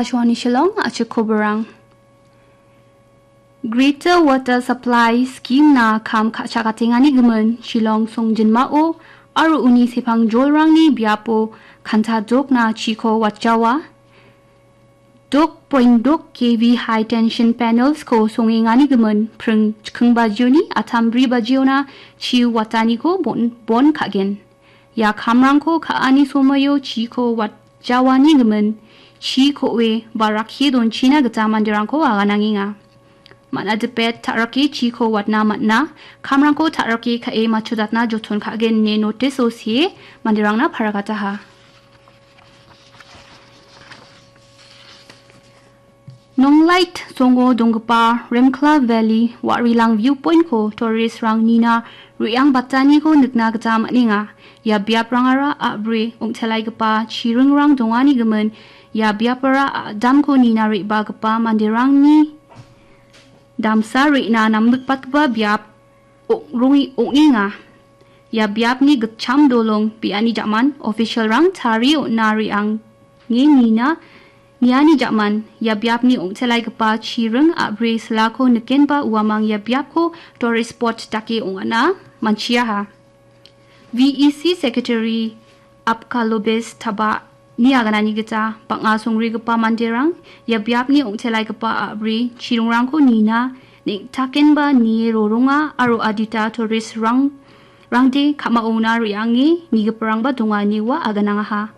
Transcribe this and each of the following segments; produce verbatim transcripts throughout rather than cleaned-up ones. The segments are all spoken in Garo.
Akashvani Shillong, achik koborang. Greater Water Supply Scheme-na kam ka·chakatengani gimin Shillong songjinmao aro uni sepangjolrangni biapo kanta dokna chiko watjawa. Dok point dok K V high tension panels-ko songengani gimin pring chikking bajioni atam bri bajiona chi wataniko bon, bon ka·gen. Ia kamrangko ka·ani somoio chiko watjawani gimin chi ko·e ba rakkie donchina gita manderangko aganangenga. Man·a dipet ta·rake chiko watna man·a, kamrangko ta·rake ka·e matchodatna joton ka·gen ine notice-o see manderangna paragataha. Nonglait songo donggipa Remkla Valley Warilang Viewpoint-ko tourist-rang nina re·angbataniko nikna gita man·enga. Ia biaprangara a·bri ong·telaigipa chiringrang dongani gimin ia biapara a·damko nina re·bagipa manderangni damsa re·na namnikbatgipa biap ong·, ong·enga. Ia biapni gitcham dolong biani jaman official-rang tarie on·a re·ange nina niani jaman ia biapni ong·telaigipa chiring a·bri silako nikenba uamang ia biapko tourist spot dake ong·ana man·chiaha. V E C Secretary Apkalobes Taba-ni aganani gita bang·a songrigipa manderang ia biapni ong·telaigipa a·bri chiringrangko nina neng·takenba nie roronga aro adita tourist-rang, rangde ka·maona re·ange nigiparangba donga ine ua aganangaha.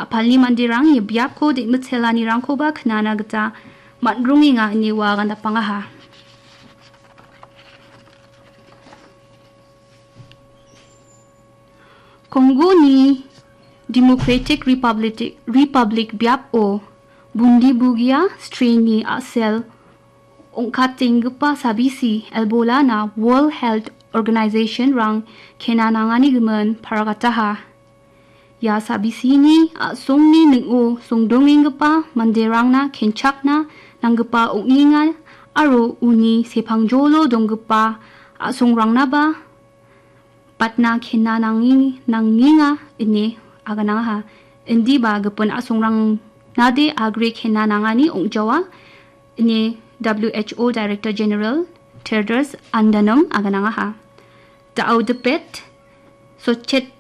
A·palni manderang ia biapko de·mitelanirangkoba knana gita man·rongenga ine ua agandapangaha. Kongoni Democratic Republic, Republic biapo bundi bugia strain-ni a·sel ong·katenggipa sabisi Ebola-na World Health Organization-rang kena nangani gimin paragataha. Ia sabisini a·songni ning·o songdongenggipa manderangna kenchakna nanggipa ong·enga aro uni sepangjolo donggipa a·songrangna ba patna kena nangi-, nangenga ine aganangaha. Indiba gipin a·songrang nade agre kena nangani ong·jawa ine W H O Director General Tedros Adhanom aganangaha. Da·o dipet sochet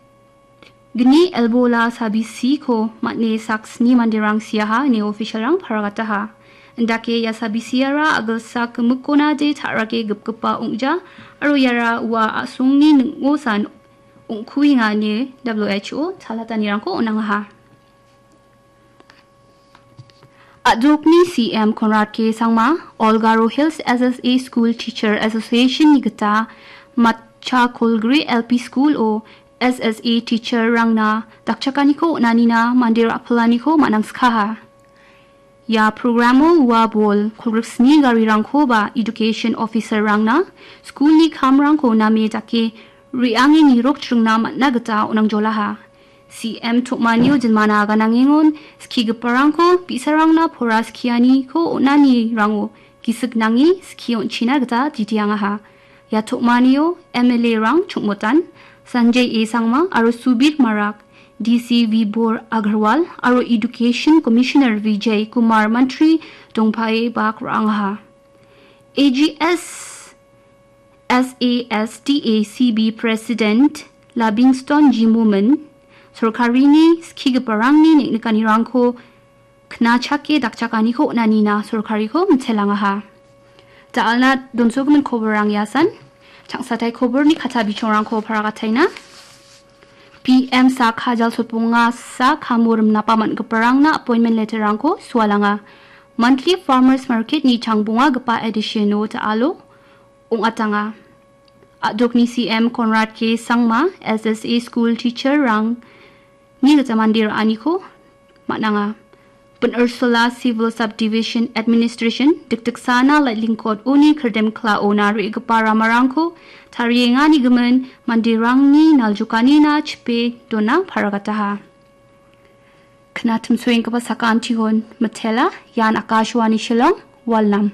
gni Ebola sabisiko man·e sak sni manderang siaha ine official-rang paragataha. Indake ia sabisiara a·gilsak gimikkona de ta·rake gipgipa ong·ja aro iara ua a·songni ning·osan ong·kuenga ine W H O chalatanirangko on·angaha. A·dokni C M Conrad K Sangma, All Garo Hills S S A School Teacher Association-ni gita Matcha Kolgri L P School-o S S A teacher-rangna dakchakaniko on·anina mande ra·pilaniko man·angskaha. Ia programo ua bol kolgriksni garirangkoba education officer-rangna school-ni kamrangko name dake re·ange nirok chringna man·a gita on·angjolaha. C M tom·anio jinmana aganangengon skigiparangko bi·sarangna pora skianiko on·anirango gisik nange skie on·china gita titiangaha. Ia tom·anio M L A-rang Chongmotan, Sanjay A Sangma aro Subir Marak, D C Vibhor Agarwal aro Education Commissioner Vijay Kumar Mantri dongpae bak ra·angaha. A G S S A S D A C B President Labingston G Momin, sorkarini skigiparangni neng·nikanirangko knachake dakchakaniko on·anina sorkariko mitelangaha. Da·alna donsogimin koborrang iasan, changsatai koborni kata bichongrangko paragataina. P M sa kajal sotbonga sa kamo rimnapa man·giparangna appointment letter-rangko sualanga. Monthly Farmers Market-ni changbongagipa edition-o da·alo ong·atanga. A·dokni C M Conrad K Sangma, S S A school teacher-rangni gita mande ra·aniko man·anga. Pin Ursula Civil Subdivision Administration dikdiksana Laitlingkot uni kirdemklaona re·gipa ramarangko tariengani gimin manderangni naljokanina chipe dona paragataha. Knatimsoenggipa sakantikon mitela, ian Akashvani Shillong, Walnam.